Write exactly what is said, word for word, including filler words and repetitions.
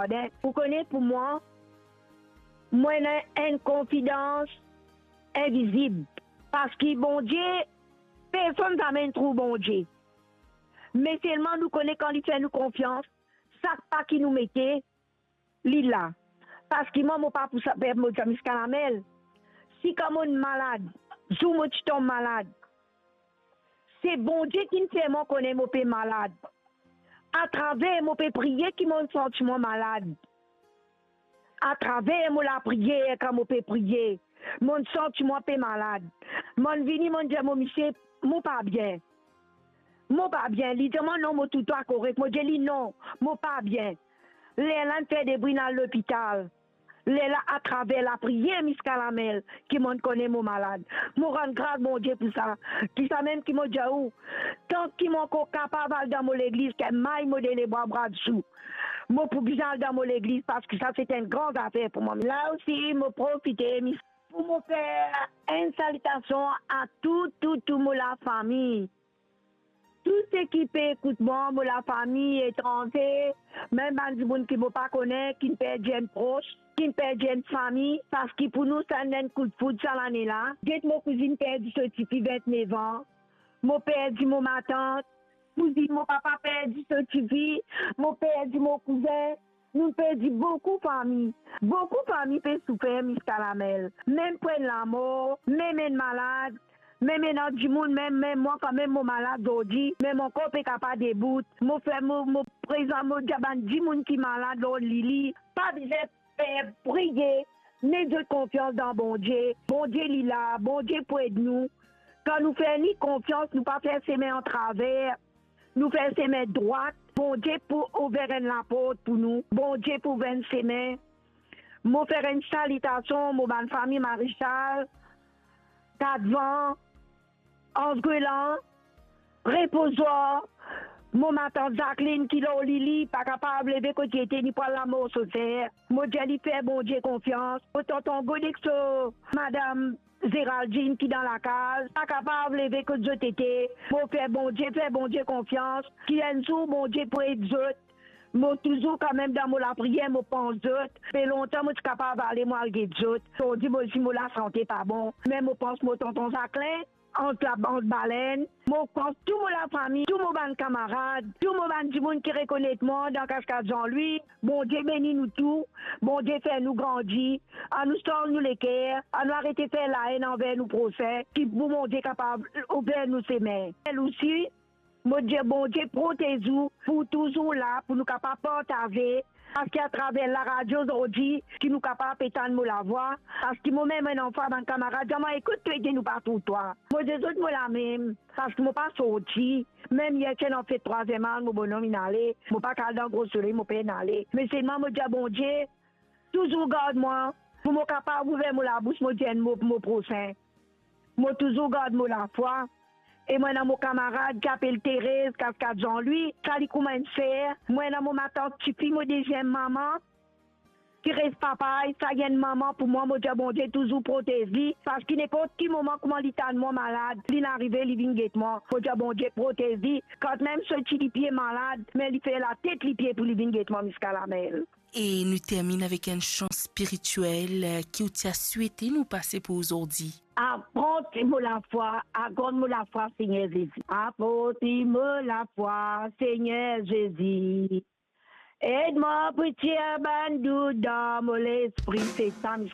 Amen. Ou kone, pou mwa, mo ena enn konfidans invizib, parski Bondie, personn zame inn trouv Bondie. Me selman nou kone kan li fer nou konfians, sak pa ki nou mete, li la. Parski mwa, mo pa pou sa, per mo dir miskalamel. Si kan mo malad, zour mo ti tom malad, se Bondie ki'nn fer mwa kone mo pe malad. Atraver mo pe priye ki mo'nn santi mwa malad. Atraver mo lapriyer, kan mo pe priye, mo'nn santi mwa pe malad. Mo'nn vini, mo'nn dir mo misie, mo pa bien. Mo pa bien. Li dir mwa, non, mo toutwa korek. Mo dir li, non, mo pa bien. Lerla inn fer debri, inn al lopital. Lerla atraver lapriyer miskalamel ki mo'nn kone mo malad. Mo rann gras Bondie pou sa. Ki sa mem ki mo dir ou, tan ki mo ankor kapav al dan mo legliz, ki may mo de lebwa bra dsou, mo pou bizin al dan mo legliz, parski sa se enn gran zafer pou mwa. La osi, mo profite, mis-, pou mo fer enn salitasion a tou, tou, tou mo lafami. Tou seki pe ekout mwa, mo lafami etranze, mem bann dimoun ki mo pa kone, ki'nn perdi enn pros, ki'nn perdi enn fami, parski pou nou sa enn koudfoud sa lane la. Get mo kouzinn perdi so tifi vintnef an, mo perdi mo matant, kouzinn mo papa perdi so tifi, mo perdi mo kouzin, nou perdi boukou fami. Boukou fami pe soufer miskalamel. Mem pou enn lamor, mem enn malad, mem ena dimoun, mem, mem mwa kan mem mo malad zordi, me mo ankor pe kapav debout. Mo fer mo, mo prezan, mo dir bann dimoun ki malad lor lili, pa bizin per, priye, met zot konfians dan Bondie. Bondie li la, Bondie pou ed nou. Kan nou fer li konfians, nou pa fer sime antraver, nou fer sime drwat, Bondie pou ouver enn laport pou nou, Bondie pou ouver enn sime. Mo fer enn salitasion mo bann fami Marisal, Katvan, Anz Gwelan, Repozwar, mo matant Zaklinn ki lor lili, pa kapav leve kot li ete, li pou al lamor so ser. Mo dir li fer Bondie konfians. Mo tonton Godexo, madam Zeraldine ki dan lakaz, pa kapav leve kot zot ete. Mo fer Bondie, fer Bondie konfians, ki enn zour Bondie pou ed zot. Mo touzour kanmem dan mo lapriyer, mo pans zot. Pe lontan mo ti kapav ale, mo al get zot. Zordi mo, si mo lasante pa bon, me mo pans mo tonton Zaklinn, ant la, ant balenn. Mo pans tou mo lafami, tou mo bann kamarad, tou mo bann dimoun ki rekonet mwa dan Kaskad Zanlwi. Bondie beni nou tou, Bondie fer nou grandi. Anou sanz nou leker, anou arete fer laenn anver nou prosin, ki pou Bondie kapav ouver nou sime. El osi, mo dir Bondie protez ou, pou touzour la, pou nou kapav partaze, parski atraver laradio zordi, ki nou kapav pe tann mo lavwa, parski momem enn anfan bann kamarad dir mwa, ekout, to ete nou pa trouv twa. Mo dir zot mo la mem, parski mo pa sorti. Mem yer ti ena fet trwaziem az, mo bonom inn ale, mo pa kapav al dan gro soley, mo pena ale. Me selman mo dir Bondie, touzour gard mwa, pou mo kapav ouver mo labous, mo dir enn mo pou mo prosin. Mo touzour gard mo lafwa. E mo ena mo kamarad ki apel Terez, Kaskad Zanlwi, sa li kouma enn ser. Mo ena mo matant tifi, mo deziem mama, ki res Papay, sa li enn mama pou mwa. Mo dir Bondie touzour protez li, parski ninport ki moman kouma li tann mwa malad, linn arive, li vinn get mwa. Mo dir Bondie protez li, kantmem so ti lipie malad, me li fer latet lipie pou li vinn get mwa miskalamel. E nou terminn avek enn san spiritiel, eh, ki ou ti a swete nou pase pou zordi. Aport mo lafwa, agrann mo lafwa, Segner Zezi. Aport mo lafwa, Segner Zezi. Ed mwa pou tir bann dout dan mo lespri, se sa